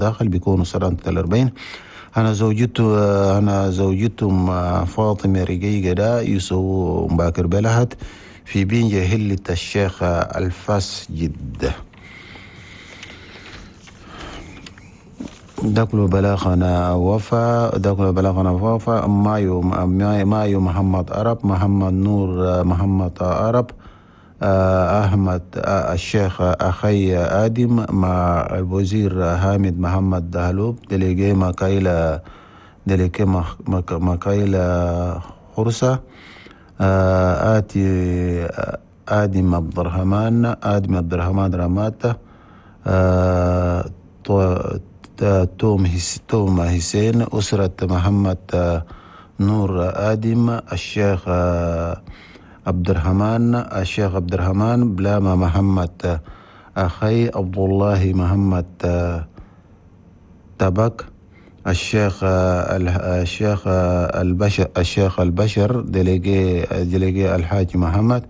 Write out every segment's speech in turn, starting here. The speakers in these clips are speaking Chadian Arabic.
وداخل بيكونوا سنة 40. أنا زوجتهم فاطمة رقيقة دا يسووا مباكر بلهت في بينجا هلة الشيخ الفاس جدة. داكلو بلاغنا وفا، داكلو بلاغنا وفا. مايو محمد عرب، محمد نور محمد عرب، أحمد الشيخ أخي آدم مع الوزير حامد محمد دهلوب، دليجي ماكايلا، دليجي ماكايلا خرسة، آتي آدم عبد الرحمن، آدم عبد الرحمن رماته، توم حسين، أسرة محمد نور آدم، الشيخ عبد الرحمن، الشيخ عبد الرحمن بلاما محمد أخي عبد الله محمد تبك، الشيخ الشيخ البشر، الشيخ البشر délégué الحاج محمد،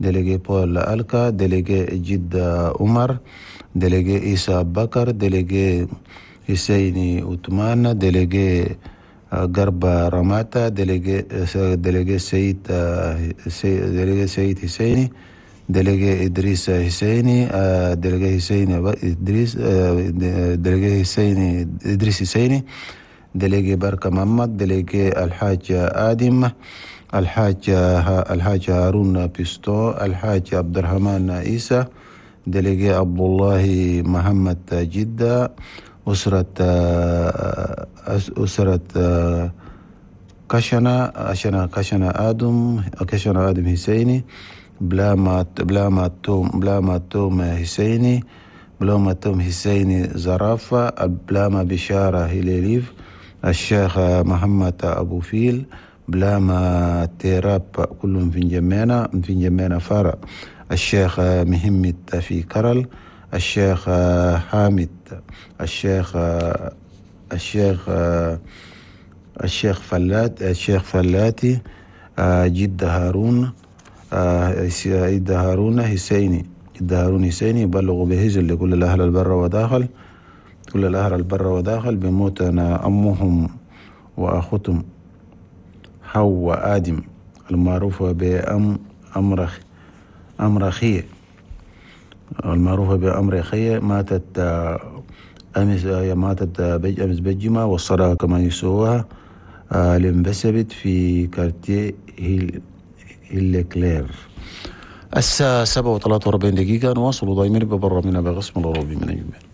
délégué بول ألكا، délégué جد عمر، délégué عيسى بكر، délégué حسيني عثمان، délégué قرب رماتا، délégué سيد، délégué سيد حسيني، délégué إدريس حسيني، délégué حسيني إدريس، délégué حسيني إدريس حسيني، délégué بركة محمد، délégué الحاج آدم، الحاج هارون بيستو، الحاج عبد الرحمن عيسى، délégué عبد الله محمد جدة، أسرة كشنا كشنا آدم، كشنا آدم حسيني، بلاما توم حسيني، بلاما توم حسيني زرافة، بلاما بشارة هليليف، الشيخ محمد أبو فيل، بلاما تيراب كلهم في جمينا، في جمينا فارع، الشيخ مهمت في كرل، الشيخ حامد، الشيخ الشيخ الشيخ فلات، الشيخ فلاتي، جد هارون، جد هارون حسيني، جد هارون حسيني. يبلغ بهزل لكل الأهل البر وداخل، كل الأهل البر وداخل بموتنا أمهم وأختهم حواء آدم المعروفة بأم أمرخية، المعروفة بأمرخية، ماتت أمس، ماتت أمس بالجمعة، والصلاة كما يسوها لمبسبت في كارتيه هيل كلير. الساعة 7:43 نواصل ضايمين ببرا من بغصم الغربي من الجبال.